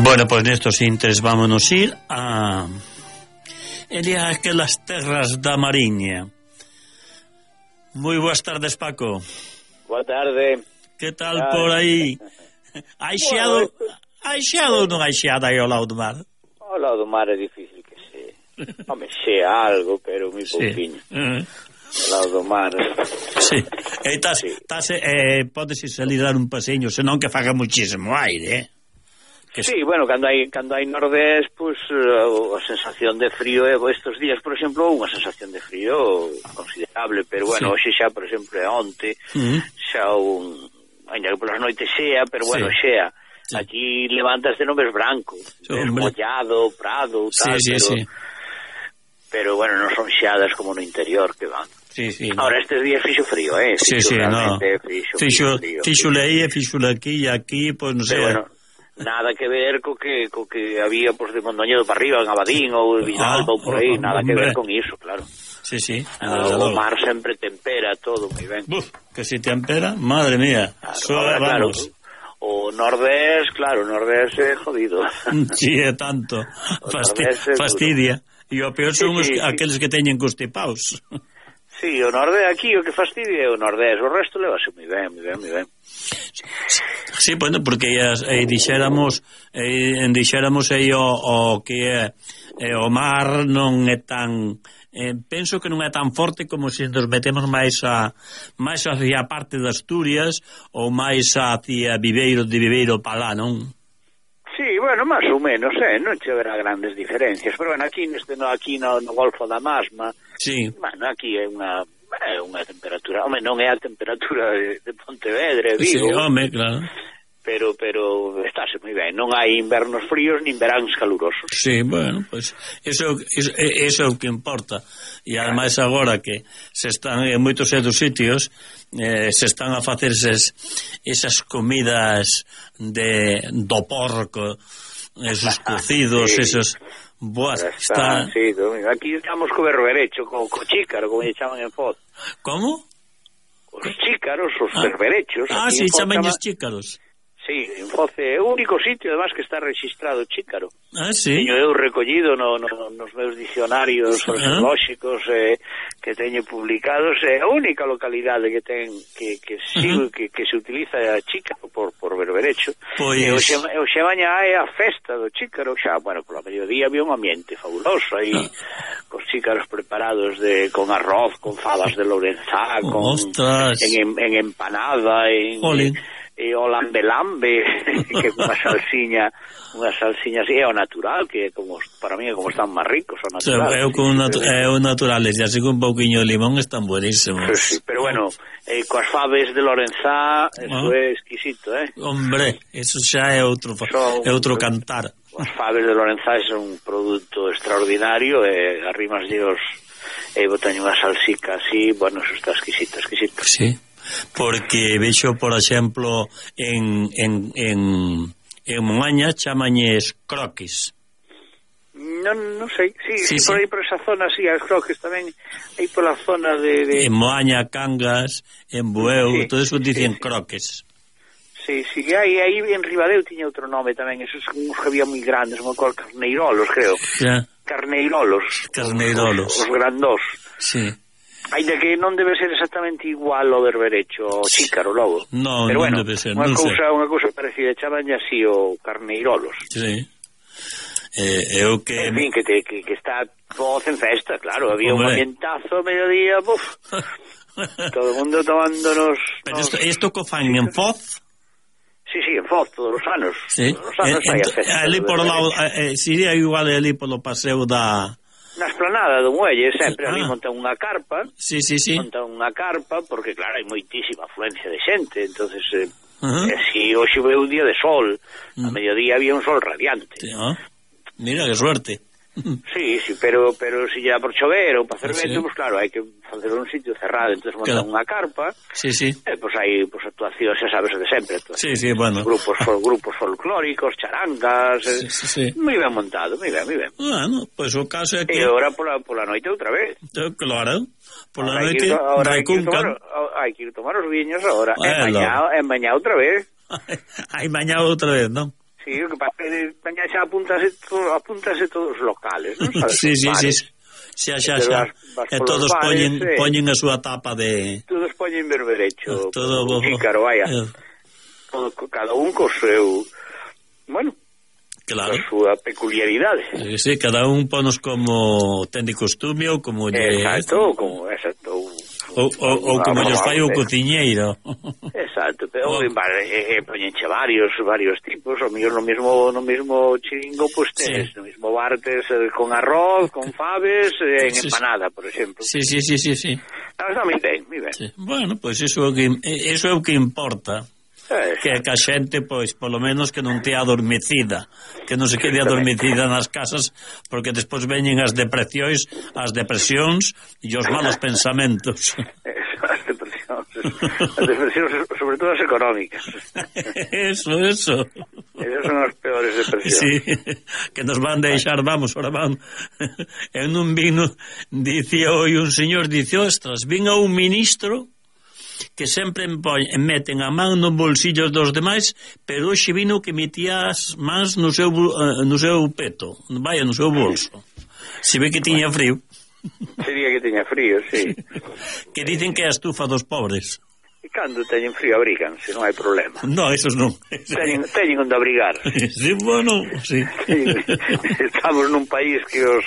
Bueno, pois nestos intres vámonos ir a aquelas terras da Mariña. Moi boas tardes, Paco. Boa tarde. Que tal por aí? Hai xeado ou non hai xeada aí ao lado do mar? Ao lado do mar é difícil que se... Home, xea algo, pero moi pouquinho. Ao lado do mar... Sí. Podes salir dar un paseño, senón que faga muchísimo aire, Sí, bueno, cando hai nordés, pues, a sensación de frío estes días, por exemplo, unha sensación de frío considerable, pero bueno, hoxe xa, por exemplo, onte, xa ainda que polas noites xea, pero bueno, xea. Sí. Aquí levantas de non ves branco, ves mollado, prado, tal, pero bueno, non son xeadas como no interior que van. Sí. Ahora estes días fixo frío, Fixo leía, fixo aquí e aquí, pois non sei. Bueno, nada que ver co que había pues, de Mondoñedo para arriba, en Abadín ou Vidalba ou por aí, nada que ver con iso, claro. Sí. O mar sempre tempera todo moi ben. Que se tempera, madre mía. Claro, o nordés é jodido. Sí, é tanto. Fastidia. E o peor son aqueles que teñen constipados. Sí, o nordés aquí o que fastidia é o nordés, o resto levase moi ben. Sí, bueno, porque dixéramos aí o que é o mar non é tan penso que non é tan forte como se nos metemos máis hacia a parte de Asturias ou máis hacia Viveiro para lá, non? Sí, bueno, máis ou menos, non che verá grandes diferencias, pero bueno, aquí no Golfo da Masma, sí. Bueno, aquí é unha temperatura, home, non é a temperatura de Pontevedra, Vigo. Sí, home, claro. Pero estáse moi ben, non hai invernos fríos nin veráns calurosos. Sí, bueno, pois eso é o que importa. E ademais agora que se están en moitos sitios se están a facer esas comidas do porco, esos cocidos, esos... Boas, está... Sí, aquí estamos co berberecho, co chícaro, como lle chaman en Foz. Como? Os chícaros, os berberechos. Sí, chaman os chícaros. Sí, en Foz é o único sitio, además, que está registrado chícaro. Sí. Teño eu recollido nos meus dicionarios arqueolóxicos que teño publicados, é a única localidade que ten que se utiliza a chícaro por berberecho. Pois... E hoxe mañá é a festa do chícaro, xa, bueno, pola mediodía había un ambiente fabuloso aí, cos chícaros preparados con arroz, con fabas de Lourenzá, en empanada, e o lambe que unha salsiña así é o natural, que como para mí é como están máis ricos o natural. É o natural, e así con un pouquiño de limón están buenísimos. Sí, pero bueno, coas faves de Lourenzá eso é exquisito, Hombre, eso xa é outro cantar. As faves de Lourenzá son un produto extraordinario e arrimas dios botaño unha salsica así, bueno, eso está exquisito. Sí. Porque vexo, por exemplo, en Moaña chamañes croquis. Non sei, sí, por aí por esa zona, sí, as croquis tamén, aí pola zona de... En Moaña, Cangas, en Bueu, todo eso dicen croques. Sí, aí en Ribadeo tiña outro nome tamén, esos uns que había moi grandes, como carneirolos, creo. Carneirolos. Os grandós. Sí. Ainda que non debe ser exactamente igual ao berberecho, o chícaro logo. No, pero non debe ser. Unha cousa parecida, chaman así o carneirolos. Sí. Eu que... En fin, que está Foz en festa, claro, había un ambientazo a mediodía, todo o mundo tomándonos... Pero isto co fan en Foz? Sí, en Foz, todos os anos. Sí. Todos os anos hai a festa. Ali por lado, sería igual ali polo paseo da... Na esplanada do muelle, sempre ali montan unha carpa. Sí. Montan unha carpa, porque claro, hai moitísima afluencia de xente, entonces si hoxe veu un día de sol, a mediodía había un sol radiante. Mira, que suerte. Sí, pero si lle dá por chover ou para hacer vento, pues claro, hai que facer un sitio cerrado, entonces montan unha carpa. Sí. Pues hai actuacións, xa sabes, de sempre. Sí, bueno. Grupos folclóricos, charangas, moi ben montado, moi ben. Bueno, pues o caso é que... E agora pola noite outra vez. Claro, pola noite recuncan. Hai que ir tomar os viños agora, e mañá outra vez. Hai mañá outra vez, non? Sí, o que pasa é que xa apúntase todos os locales, non sabes? Sí. Xa. E todos poñen a súa tapa de... Todos poñen berberecho, todo chícaro, vaya. Cada un co seu... Bueno, claro, a súa peculiaridade. Sí, cada un ponos como ten de costume ou como... Exacto. Ou como lles fai o cociñeiro. Exacto, pero poñenche varios tipos, o mellor no mismo chiringo, pues tenes no mismo bar con arroz, con faves, en empanada, por exemplo. Sí. Está moi ben. Sí. Bueno, pois iso é o que importa. Que a xente, pois, polo menos que non tea adormecida, que non se quede adormecida nas casas, porque despois veñen as depresións e os malos pensamentos. As depresións, sobre todo as económicas. Eso. Esas son as peores depresións. Sí, que nos van deixar, ahora van. En un vino, dicía hoy un señor, ostras, vin a un ministro que sempre meten a man nos bolsillos dos demais, pero hoxe vino que metía as mans no seu peto, vaya, no seu bolso. Se ve que tiña frío. Sería que tiña frío, sí. Que dicen que é a estufa dos pobres. E cando teñen frío abríganse, non hai problema. No, esos non. Teñen onde abrigar. Sí, bueno, sí. Estamos nun país que os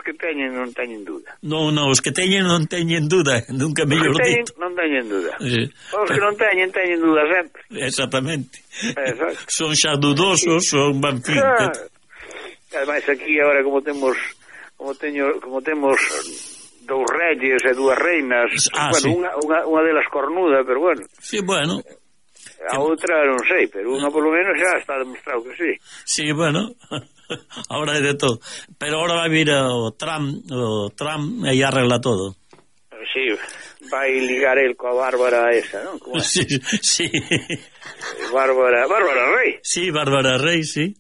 que teñen non teñen duda. No, os que teñen non teñen duda, nunca mellor dito. Non teñen duda. Sí. Os que non teñen duda sempre. Exactamente. Exacto. Son xa dudosos, son banfín. Ademais aquí agora como temos dous reyes e dúas reinas, bueno, sí. unha delas cornuda, pero bueno. Sí, bueno. A outra non sei, pero unha polo menos xa está demostrado que sí. Sí, bueno. Ahora é de todo. Pero ahora vai vir o Trump e arregla todo. Sí, vai ligar el coa Bárbara esa, non? Sí. Bárbara Rey. Sí, Bárbara Rey, sí.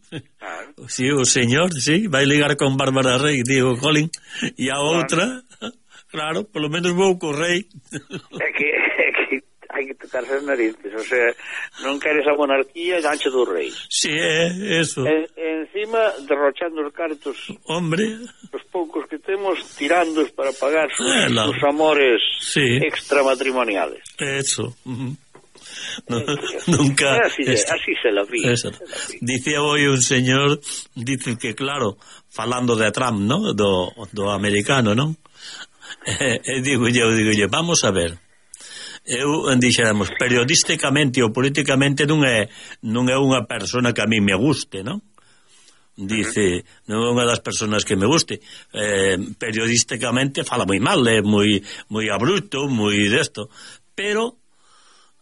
Sí, o señor, sí, vai ligar con Bárbara Rey, digo, Colin, e a outra, claro, polo menos vou co rei. É que hai que tocarse as narices, o sea, non queres a monarquía, gancho do rei. Sí, é eso. Encima, derrochando os cartos, hombre, os poucos que temos, tirándoos para pagar sus amores extramatrimoniales. Eso. Nunca. Así se la vi. Dicía hoy un señor, dice que, claro, falando de Trump, ¿no? Do americano, ¿no? Digo yo, vamos a ver. Eu dixéramos, periodísticamente ou políticamente non é unha persona que a mí me guste, non? Dice, non é unha das personas que me guste. Periodísticamente fala moi mal, é moi abrupto, moi desto, pero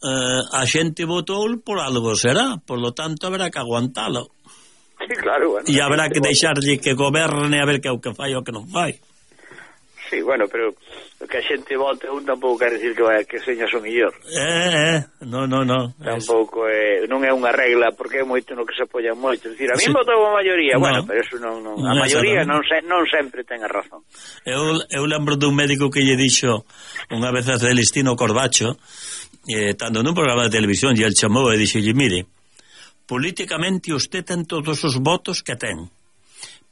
a xente votou por algo será, por lo tanto haberá que aguantalo. Sí, claro, bueno. E haberá que deixarlle que goberne a ver que é o que fai ou que non fai. Sí, bueno, pero que a xente vote un tampouco quer decir que señas o millor. No. Tampouco non é unha regla, porque é moito no que se apoian moito. Dicir, a mí votou a maioría, bueno, pero eso non a maioría non sempre ten a razón. Eu lembro dun médico que lle dixo unha vez a Celestino Corbacho, tanto nun programa de televisión, e el chamou e dixolle, mire, políticamente usted ten todos os votos que ten,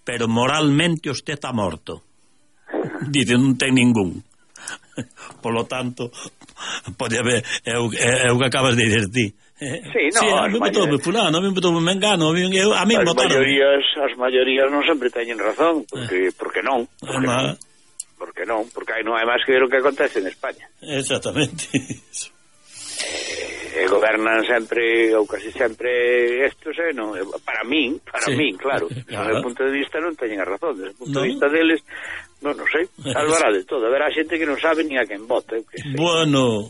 pero moralmente usted está morto. Dice, non ten ningún. Por lo tanto, pode haber, é o que acabas de dizer ti. A mí votou fulano, a mí votou mengano, a mí votaron. As maiorías non sempre teñen razón, porque non. Porque non hai máis que ver o que acontece en España. Exactamente. Gobernan sempre, ou casi sempre estos, non, para min, claro. Desde o punto de vista non teñen a razón, desde o punto de vista deles, non sei, salvará de todo. Haberá xente que non sabe ni a quen vota. Bueno,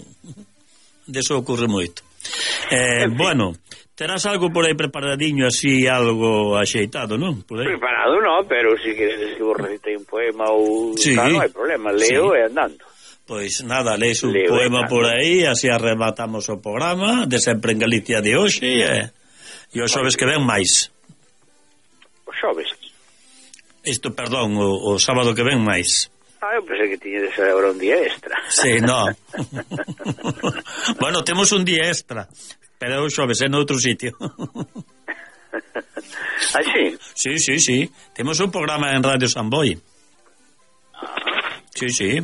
deso ocurre moito. Bueno, terás algo por aí preparadiño, así, algo axeitado, non? Preparado non, pero se queredes que vos recitei un poema ou tal, non hai problema, leo e andando. Pois nada, leis un poema por aí, así arrematamos o programa de Sempre en Galicia de hoxe, e os xoves que ven máis. Os xoves? Isto, perdón, o sábado que ven máis. Eu pensei que tiñedes agora un día extra. Sí, no. Bueno, temos un día extra, pero os xoves é noutro sitio. Ah, sí? Sí, sí, sí. Temos un programa en Radio Samboy. Sí, sí.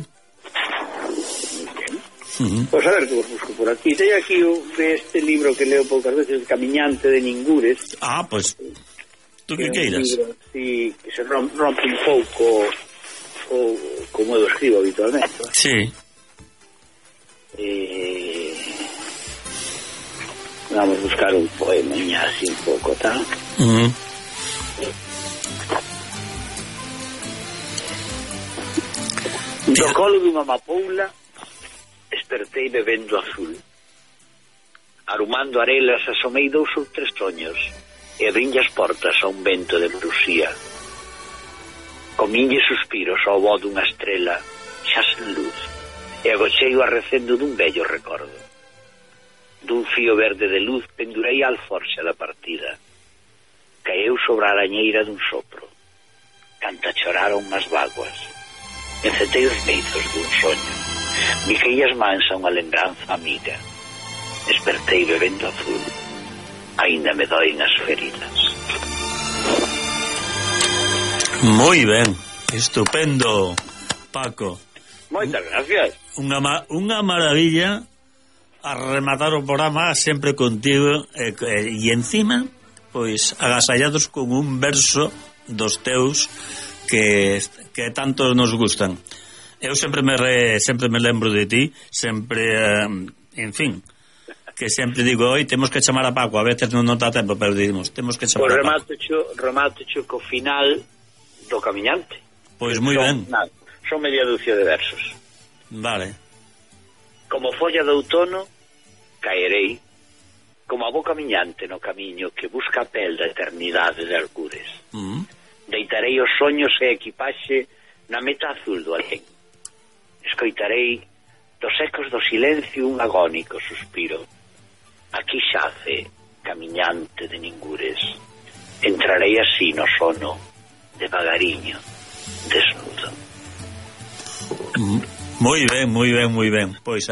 Pois a ver que vos busco por aquí. Teño aquí este libro que leo poucas veces, Camiñante de Ningures. Ah, pois tú que queiras. Libro, sí, que se rompe un pouco o como eu escribo habitualmente. Sí. Vamos a buscar un poema así un pouco, tá? Do colo dunha amapoula despertei bebendo azul. Arumando arelas asomei 2 ou 3 soños e abrinlle as portas a un vento de brusía. Comínlle suspiros ao vó dunha estrela xa sen luz e agochei o arrecendo dun vello recordo. Dun fío verde de luz pendurei a alforxa da partida. Caeu sobre a arañeira dun sopro. Canta choraron as vaguas. Encetei os beizos dun soño. Mixei as mans a unha lembranza amiga. Despertei bebendo azul. Ainda me doen as feridas. Moi ben, estupendo, Paco. Moitas gracias. Unha maravilla a rematar o programa sempre contigo e encima, pois, agasallados con un verso dos teus que tanto nos gustan. Eu sempre me lembro de ti, sempre, en fin, que sempre digo, oi, temos que chamar a Paco, a veces non dá tempo, pero digamos, temos que chamar a Paco. Remato co final do Camiñante. Pois moi ben. Son media dúcia de versos. Vale. Como folla de outono, caerei, como a boca miñante no camiño que busca a pel da eternidade de algures. Deitarei os soños e equipaxe na meta azul do alén. Escoitarei dos ecos do silencio un agónico suspiro. Aquí xace, camiñante de Ningures. Entrarei así no sono, devagariño, desnudo. Moi ben, moi ben, moi ben. Pois